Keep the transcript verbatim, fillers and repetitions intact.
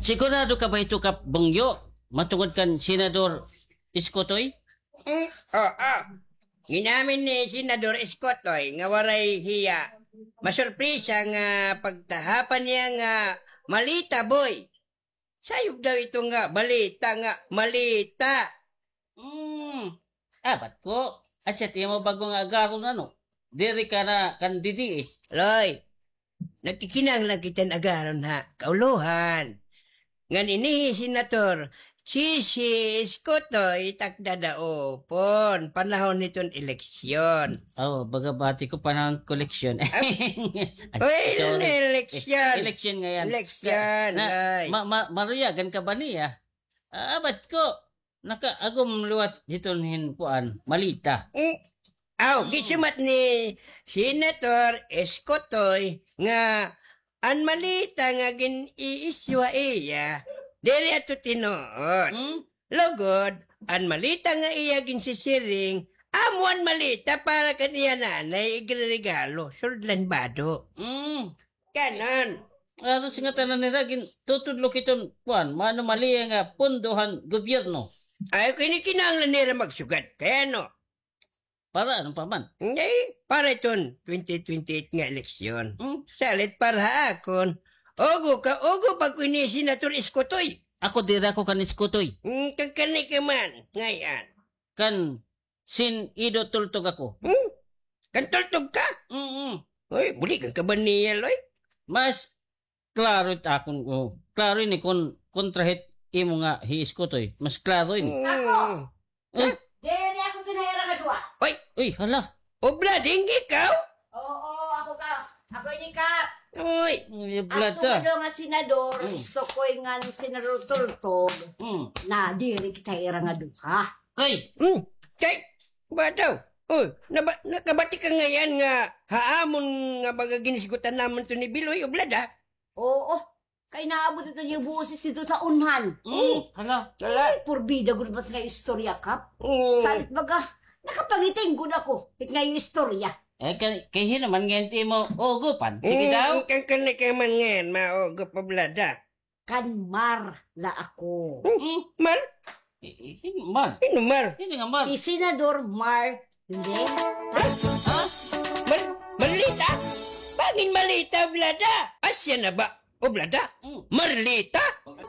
Sigurado ka ba hito, Kap Bungyo? Matungod kan Senador Iskotoy? Hmm, oo. Gin-amin ni Senador Iskotoy nga waray hiya masurpresa nga pagtahapan niya nga malita, boy. Sayop daw ito nga balita nga malita. Hmm. Abat ko. Asya it imo bag-o nga agaron, ano? Diri ka na kan D D S. Loy, nagkikinahanglan kita hin agaron ha kaulohan. Ngan ini hi Senator Chichi Iskotoy it ak dadaupon panahon hiton eleksyon. Oh, baga bati ko panahon koleksyon. Ay, uy, sorry. Eleksyon. E-, eleksyon ngayon. Eleksyon, na, ay. Ma-, ma-, maruyagan ka ba niya? Ah, abat ko. Nakaagom liwat hiton hin kuan, malita. Mm. Aw, mm, gisumat ni Senator Iskotoy nga an malita nga gin-i-issue ha iya, diri ato tinuod. Mm. Lugod, an malita nga iya ginsisiring, amo an malita para kan iya nanay igreregalo, sud la hin bado. Mm. Kanan. Aron sa ngatanan nira, gin-, tutudlo hiton, kuan, mga anomalya nga pondo han gobyerno. Ay, kini kinahanglan nira magsugad. Kay ano? Para ano pa man? Hindi, para iton twenty twenty-eight nga eleksyon. Hmm? Salit para ha akon. Ugo ka, ugo pa ko ini Senator Iskotoy. Ako dira ko kan Iskotoy. Hmm, kan kani ka man, ngay-an. Kan Sin Ido Tultog ako. Hmm? Kan Tultog ka? Mm-mm. Uy, buligan ka ba niya, Loy? Mas klaro it akon, oh. Klaro ini kon-, kontra hit imo nga hi Iskotoy. Mas klaro ini. Mm. Ako? Eh? Diri ako ito na ira nga duha. Uy! Uy, hala. Oblading ikaw? Oo, ako ka. Ako ini ka. Uy! Uy, Oblada. Ato nga duha nga senador, mm, Iskotoy ngan Senador Tultog. Mm. Na, diri kita ira nga duha. Kay? Hmm, kay, ba daw? Oh, naba-, nakabati ka ngay-an nga ha amon nga baga ginhisgutan namon ito ni Biloy, Oblada? Oo, kay naabot ito niya boses dito sa unhan. Mm, hala. Hala. Ay, purbida gud ba nga istorya, Kap? Mm. Salit baga, nakapangiting gud ako, it nga istorya. Eh, kay, kay hin-o man ngay-an it imo ugopan? Sige daw. Mm, kan, kan, kan man ngay-an, maugop, Oblada. Kan Mar la ako. Hmm? Hmm? Mar? I-, i-, sino Mar? Sino Mar? Sino nga Mar? Si Senador Marlita. Ha? Ha? Mar-, Marlita? Bangin Malita, Oblada? Asya na ba, Oblada? Hmm. Marlita?